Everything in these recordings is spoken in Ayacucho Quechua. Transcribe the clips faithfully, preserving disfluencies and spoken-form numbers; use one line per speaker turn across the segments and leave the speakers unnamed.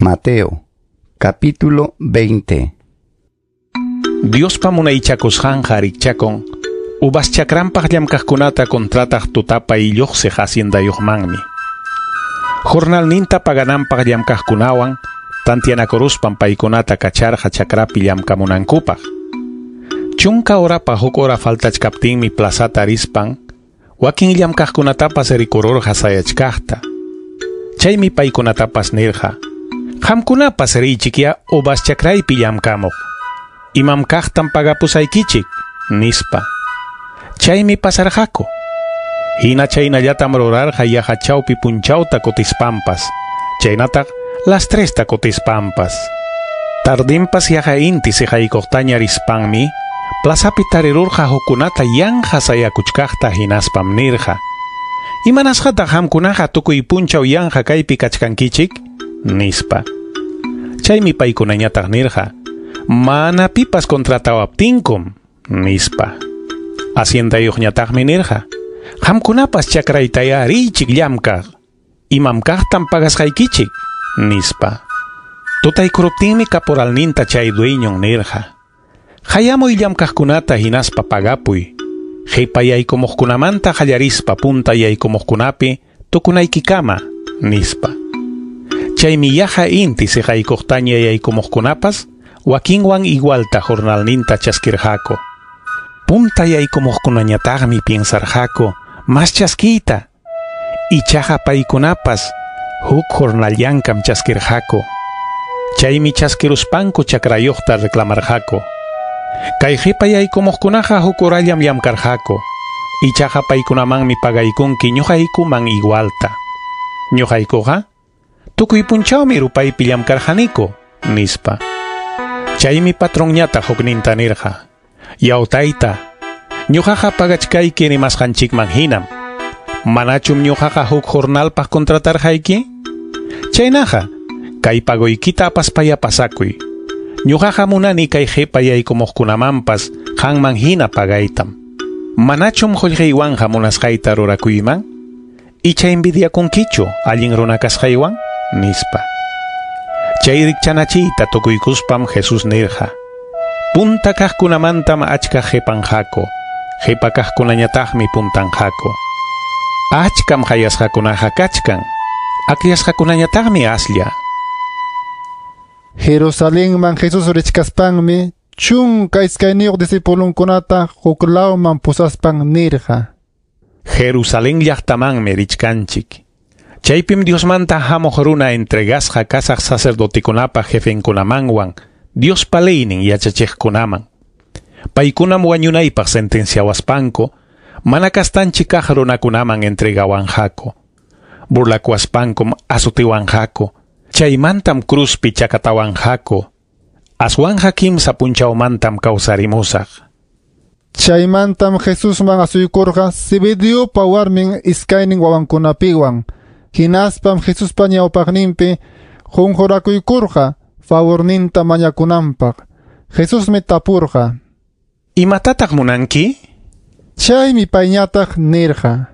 Mateo, capítulo veinte.
Diospa munaychakusqanqa rikchakun uvas chakranpaq llamkaqkunata contrataq tutapa illuqsiq haciendayuqmanmi. Jornalninta pagananpaq llamkaqkunawan tantianakuruspan paykunata kacharqa chakrapi llamkamunankupaq. Chunka horapa huk hora faltachkaptinmi plazata rispan wakin llamkaqkunatapas rikururqa sayachkaqta. Chaymi paykunatapas nirqa: Qamkunapas riychikya uvas chakraypi llamkamuq. Imam kaqtam pagapusaykichik, nispa. Chaymi pasarqaku. Hina chaynallatam rurarqa yaqa chawpi punchawta kutispanpas, chaynataq las tresta kutispanpas. Tardinpas yaqa inti siqaykuqtaña rispanmi, plazapi tarirurqa hukkunata yanqa sayakuchkaqta hinaspam nirqa: Imanasqataq qamkunaqa tukuy punchaw yanqa kaypi kachkankichik? Nispa. Chaymi paykunañataq nirqa: Mana pipas contratawaptinkum, nispa. Haciendayuqñataqmi nirqa: Qamkunapas chakraytaya riychik llamkaq. Imam kaqtam pagasqaykichik, nispa. Tutaykuruptinmi caporalninta chay dueñon nirqa: Hayamuy llamkaqkunata hinaspa pagapuy. Qipa yaykumuqkunamanta qallarispa punta yaykumuqkunapi tukunaykikama, nispa. Chaymi yaqa inti siqaykuqtaña yaykumuqkunapas wakinwan igualta jornalninta chaskirqaku. Punta yaykumuqkunañataqmi piensarqaku mas chaskiyta. Ichaqa paykunapas huk jornalllankam chaskirqaku. Chaymi chaskiruspanku chakrayuqta reclamarqaku. Kay qipa yaykumuqkunaqa huk horallam llamkarqaku. Ichaqa paykunamanmi pagaykunki ñuqaykuman igualta. Ñuqaykuqa tukuy punchawmi rupaypi llamkarqaniku, nispa. Chaymi patronñataq hukninta nirqa: Yaw tayta, ñuqaqa pagachkayki rimasqanchikman hinam. Manachum ñuqaqa huk jornalpaq contratarqayki? Chaynaqa, kay pagoykita apaspaya pasakuy. Ñuqaqa munani kay qipa yaykumuqkunamanpas qanman hina pagaytam. Manachum qullqiywanqa munasqayta rurakuyman? Icha envidiakunkichu allin runa kasqaywan? Nispa. Chay rikchanachiyta tukuykuspam Jesús nirqa: Punta kaqkunamantam achka qipanqaku, qipa kaqkunañataqmi puntanqaku. Achkam hayasqakunaqa kachkan, akllasqakunañataqmi aslla.
Jerusalenman Jesús richkaspanmi chunka iskayniyuq discipulunkunata huklawman pusaspan nirqa:
Jerusalén llaqtamanmi richkanchik. Chaypim Diosmanta hamuq runa entregasqa kasaq sacerdotekunapa jefenkunamanwan Diospa leynin yachachiqkunaman. Paykunam wañunaypaq sentenciawaspanku mana kastanchik kaq runakunaman entregawanqaku. Burlakuwaspankum azutiwanqaku. Chaymantam cruzpi chakatawanqaku. Aswanja kimsa punchawmantam kawsarimusaq.
Chaymantam Jesusman asuykurqa Zebediopa warmin iskaynin wawankunapiwan. Hinaspam Jesuspa ñawpaqninpi qunqurakuykurqa favorninta mañakunanpaq. Jesusmi tapurqa:
Imatataq munanki?
Chaymi payñataq nirqa: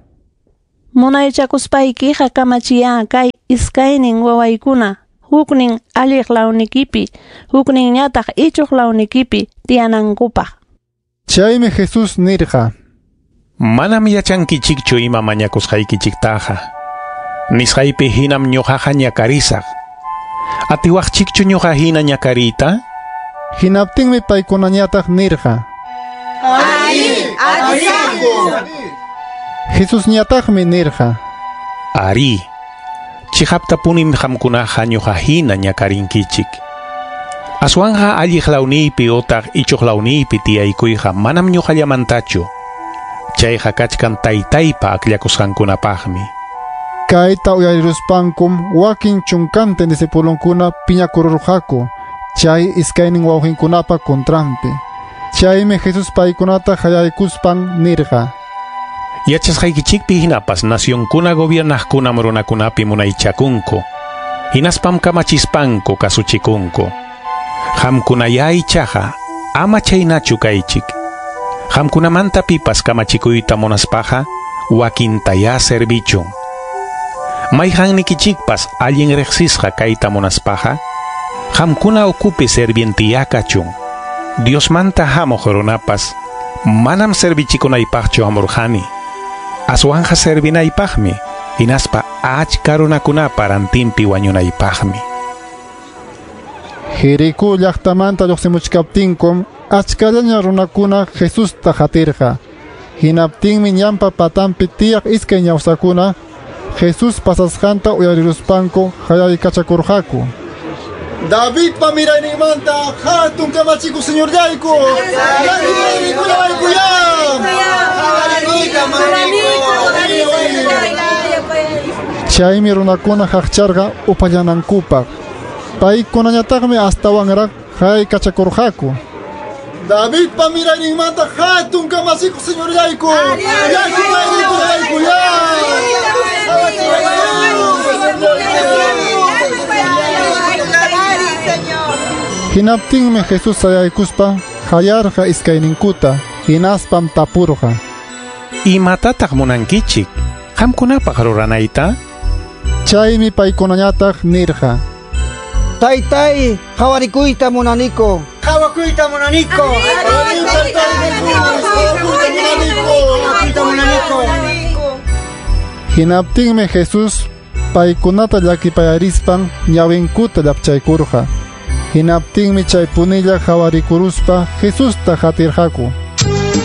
Munaychakuspaykiqa kamachiya kay iskaynin wawaykuna huknin alliq lawnikipi, hukninñataq ichuq lawnikipi tiyanankupaq.
Chaymi Jesús nirqa:
Manam yachankichikchu ima mañakusqaykichiktaqa. Nisqaypi hinam ñuqaqa ñakarisaq. Atiwaqchikchu ñuqa hina ñakariyta?
Hinaptinmi paykunañataq nirqa:
Ari, atisaqku.
Jesusñataqmi nirqa:
Ari, chiqaptapunim qamkunaqa ñuqa hina ñakarinkichik. Aswanja alliq lawniypi utaq ichuq lawniypi tiyaykuyqa manam ñuqallamantachu. Chayqa kachkan taytaypa akllakusqankunapaqmi.
Kayta uyariruspankum wakin chunkantin discipulunkuna piñakururqaku chay iskaynin wawqinkunapa contranpi. Chaymi Jesús paykunata hayaykuspan nirqa:
Yachasqaykichikpi hinapas nacionkuna gobiernaqkunam runakunapi munaychakunku. Hinaspam kamachispanku kasuchikunku. Qamkunaya ichaqa ama chaynachu kaychik. Qamkunamanta pipas kamachikuyta munaspaqa wakintaya servichun. Mayqannikichikpas allin riqsisqa kayta munaspaqa, qamkuna ukupi servientiyá kachun. Diosmanta hamuq runapas manam servichikunaypaqchu hamurqani. Aswanqa servinaypaqmi, hinaspa achka runakunapa rantinpi wañunaypaqmi.
Jericó llaqtamanta lluqsimuchkaptinkum achkallaña runakuna Jesusta qatirqa. Hinaptinmi ñanpa patanpi tiyaq iskay ñawsakuna Jesús pasasqanta uyariruspanku hayaykachakurqaku.
Davidpa mirayninmanta hatun kamachikuq señorllayku, llakipayarikullawaykuyá.
Chaymi runakuna haqcharqa upallanankupaq. Paykunañataqmi astawanraq hayaykachakurqaku.
Davidpa mirayninmanta hatun kamachikuq señorllayku, llakipayarikullawaykuyá.
Hinaptinmi Jesús sayaykuspa hayarqa iskayninkuta, hinaspam tapurqa.
Imatataq munankichik qamkunapaq ruranayta?
Chaymi paykunañataq nirqa.
Taytay, qawarikuyta munaniku.
Qawakuyta munaniku. Qawakuyta munaniku.
Hinaptinmi Jesús paykunata llakipayarispan ñawinkuta llapchaykurqa. Hinaptinmi chay punilla qhawarikuruspa Jesusta qatirqaku.